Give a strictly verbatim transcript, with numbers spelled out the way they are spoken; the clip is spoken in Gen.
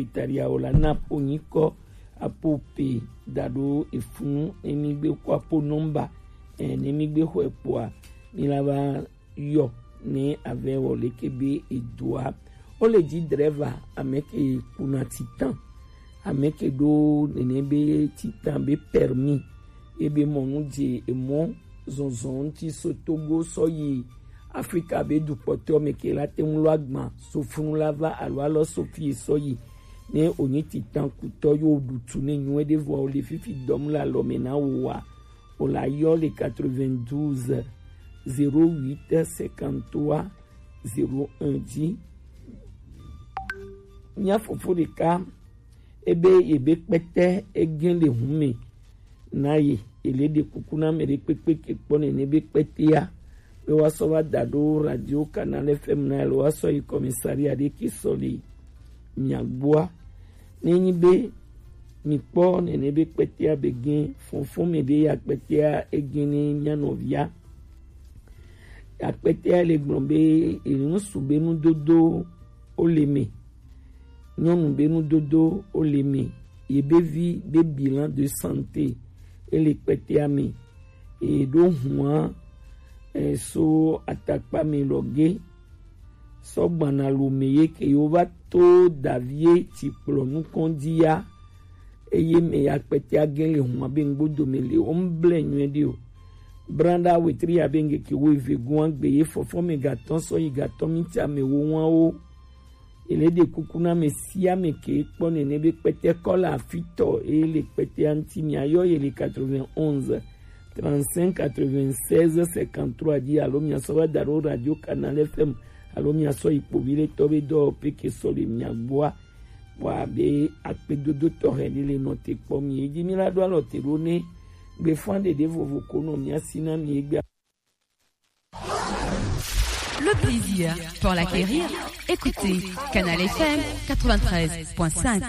Italia o la na po nyikɔ apo pe da ɖo efunu ne mi gbe ko apo nɔmba, eh, ne mi gbe xɔe kpoa mi la va yɔ ne avɛ wɔ leke be edoa. O le dzi drɛva ame ke kuna titan, ame ke ɖo nene be titan be permis, ebe mɔnu dze emɔ zɔnzɔn ŋuti so Togo sɔ yi Afrika be dukpɔtɔ me ke la te ŋu lɔ agban so funu la va alo alɔ so fie sɔ yi. Ne onyi titan kutɔ yo ɖutu ne nyuie ɖe vɔ o le fifi dɔm le alɔ me na wo wa, o la yɔ le quatre-vingt-douze zéro huit cinquante-trois zéro un dzi. Mía fofo ɖeka ebe yebe kpɛtɛ egen le hun me na ye, ele ɖe kuku na ame ɖe kpekpe ke kpɔ nene be kpɛtɛa be wa sɔ va da ɖo Radio Canal F M na alo wa sɔ yi commissariat ɖe ke sɔ le mia gbɔa. Ne nyi be mi kpɔ nene be kpɛtɛa be gen fɔnfɔn me ɖe ya kpɛtɛa egen ne mia nɔvia. Akpɛtɛa le gblɔ be enu su be nudodo o le me, nyɔnu be nudodo o le me, ye be vi be bilan de santé e le kpɛtɛa me, e ɖo hua e so atakpa me lɔ ge sɔ gbana lo me ye ke yo va to davie ti kplɔ nukɔn di ya. Eye me ya kpɛtɛ agen le hua be ŋgbodo me le o ŋble nyuie ɖi o. Branda wetri ya be ŋgeke wo eve gua gbe ye fɔfɔ me gatɔn sɔ yi gatɔn mi ti ame wo ŋua wo. Ele ɖe kuku na me si ame ke kpɔ nene be kpɛtɛ kɔ le afitɔ e le kpɛtɛ anti mi ayɔ ye le quatre-vingt-onze trente-cinq quatre-vingt-seize cinquante-trois di alo mi asɔ va da ɖo Radio Canal F M alo mi asɔ yi kpovi le tɔ be dɔ pe ke sɔ le mi agbɔa. Bua be akpedodo tɔxɛ ɖe le nɔ te kpɔ mi. Eji mi la ɖo alɔ te ɖo ne gbefan ɖeɖe vovo ko nɔ mia si na mi egbe. Le plaisir pour l'acquérir. Écoutez Canal F M quatre-vingt-treize point cinq.